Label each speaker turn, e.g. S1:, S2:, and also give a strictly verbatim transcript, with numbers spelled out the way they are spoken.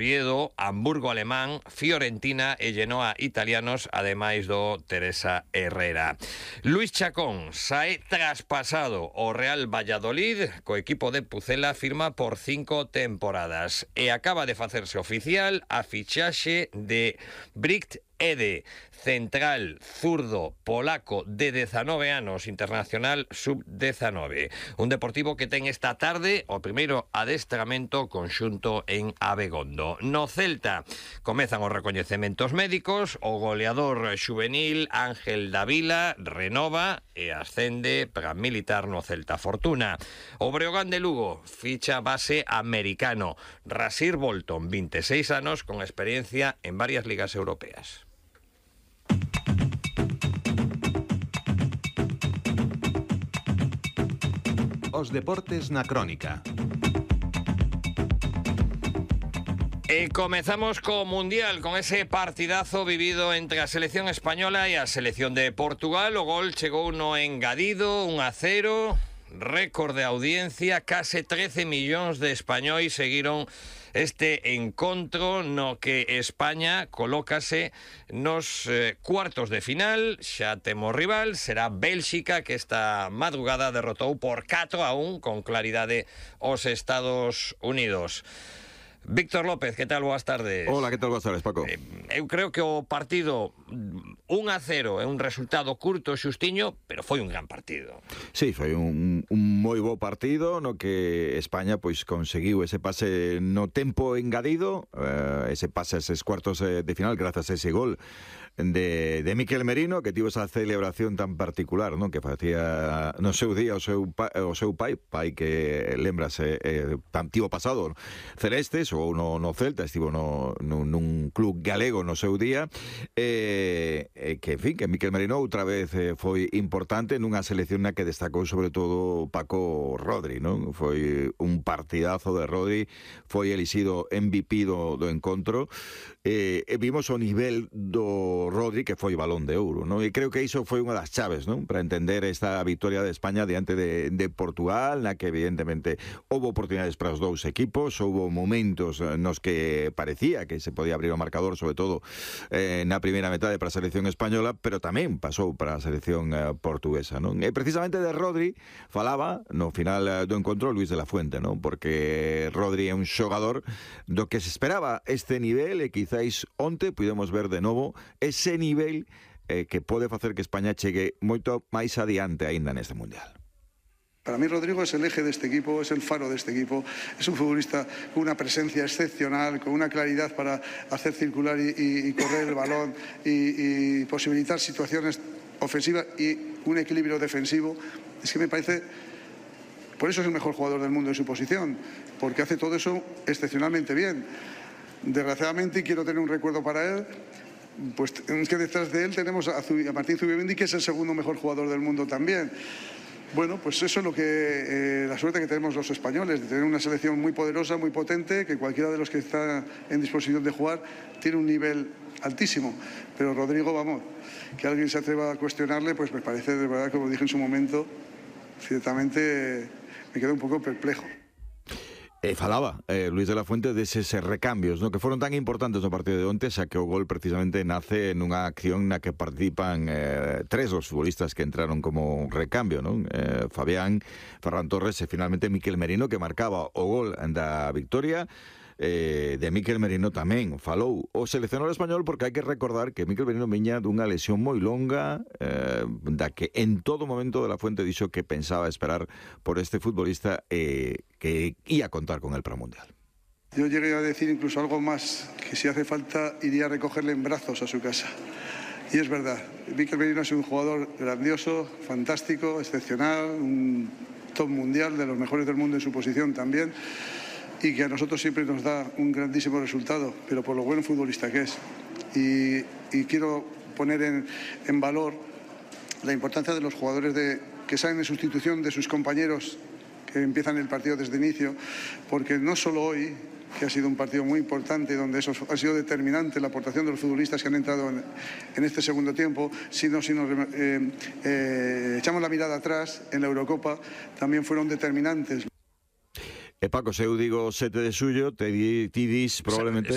S1: Oviedo, Hamburgo alemán, Fiorentina e Genoa italianos, ademais do Teresa Herrera. Luis Chacón sae traspasado ao Real Valladolid, co equipo de Pucela firma por cinco temporadas e acaba de facerse oficial a fichaxe de Bricht Ede, central zurdo polaco de dezanove anos, internacional sub dezanove. Un Deportivo que ten esta tarde o primeiro adestramento conxunto en Abegondo. No Celta comezan os recoñecementos médicos, o goleador xuvenil Ángel Davila renova e ascende para militar no Celta Fortuna. O Breogán de Lugo ficha base americano Rasir Bolton, veintiséis anos, con experiencia en varias ligas europeas.
S2: Os deportes na crónica.
S1: E comezamos co Mundial, con ese partidazo vivido entre a selección española e a selección de Portugal. O gol chegou no engadido, un a cero, récord de audiencia, case trece millóns de españois seguiron este encontro no que España colócase nos eh, cuartos de final. Xa temos rival, será Bélxica, que esta madrugada derrotou por catro a un con claridade os Estados Unidos. Víctor López, que tal? Boas tardes.
S3: Hola, que tal? Boas tardes, Paco.
S1: Eh, eu creo que o partido un a cero é un resultado curto, xustiño, pero foi un gran partido.
S3: Sí, foi un, un moi bo partido no que España pois conseguiu ese pase no tempo engadido, eh, ese pase a eses cuartos de final grazas a ese gol de, de Miquel Merino, que tivo esa celebración tan particular, non? Que facía no seu día o seu, pa, o seu pai, pai que lembrase eh, tan tivo pasado celestes, ou no, no Celta, estivo no, no, nun club galego no seu día, eh, eh, que, en fin, que Miquel Merino outra vez eh, foi importante nunha selección na que destacou sobre todo Paco Rodri, non? Foi un partidazo de Rodri, foi elixido M V P do, do encontro, eh, e vimos o nivel do Rodri, que foi balón de ouro, non? E creo que iso foi unha das chaves, non? Para entender esta victoria de España diante de, de Portugal, na que evidentemente houve oportunidades para os dous equipos, houve momentos nos que parecía que se podía abrir o marcador, sobre todo eh, na primeira metade para a selección española, pero tamén pasou para a selección eh, portuguesa, non? E precisamente de Rodri falaba no final eh, do encontro Luis de la Fuente, non? Porque Rodri é un xogador do que se esperaba este nivel e quizáis onte pudemos ver de novo ese nivel eh, que pode facer que España chegue moito máis adiante aínda neste Mundial.
S4: Para mí Rodrigo es el eje de este equipo, es el faro de este equipo, es un futbolista con una presencia excepcional, con una claridad para hacer circular y, y, y correr el balón y, y posibilitar situaciones ofensivas y un equilibrio defensivo. Es que me parece, por eso es el mejor jugador del mundo en su posición, porque hace todo eso excepcionalmente bien. Desgraciadamente, y quiero tener un recuerdo para él, pues es que detrás de él tenemos a, a Martín Zubimendi, que es el segundo mejor jugador del mundo también. Bueno, pues eso es lo que eh, la suerte que tenemos los españoles, de tener una selección muy poderosa, muy potente, que cualquiera de los que está en disposición de jugar tiene un nivel altísimo. Pero Rodrigo, vamos, que alguien se atreva a cuestionarle, pues me parece, de verdad, como dije en su momento, ciertamente me quedé un poco perplejo.
S3: E falaba eh, Luis de la Fuente deses recambios, no? Que foron tan importantes no partido de onte, xa que o gol precisamente nace nunha acción na que participan eh, tres dos futbolistas que entraron como recambio, non? Eh, Fabián, Ferran Torres e finalmente Miquel Merino, que marcaba o gol da victoria. Eh, de Miquel Merino tamén falou o seleccionador español, porque hai que recordar que Miquel Merino viña dunha lesión moi longa, eh, da que en todo momento de la Fuente dixo que pensaba esperar por este futbolista eh, que ia contar con el para o Mundial.
S4: Yo llegué a decir incluso algo más, que si hace falta iría a recogerle en brazos a su casa. Y es verdad, Miquel Merino es un jugador grandioso, fantástico, excepcional, un top mundial, de los mejores del mundo en su posición también, y que a nosotros siempre nos da un grandísimo resultado, pero por lo buen futbolista que es. Y, y quiero poner en, en valor la importancia de los jugadores de, que salen en sustitución de sus compañeros que empiezan el partido desde inicio, porque no solo hoy, que ha sido un partido muy importante, donde eso ha sido determinante, la aportación de los futbolistas que han entrado en, en este segundo tiempo, sino si nos eh, eh, echamos la mirada atrás, en la Eurocopa también fueron determinantes.
S3: E Paco, se eu digo sete de xullo, te di, ti dis probablemente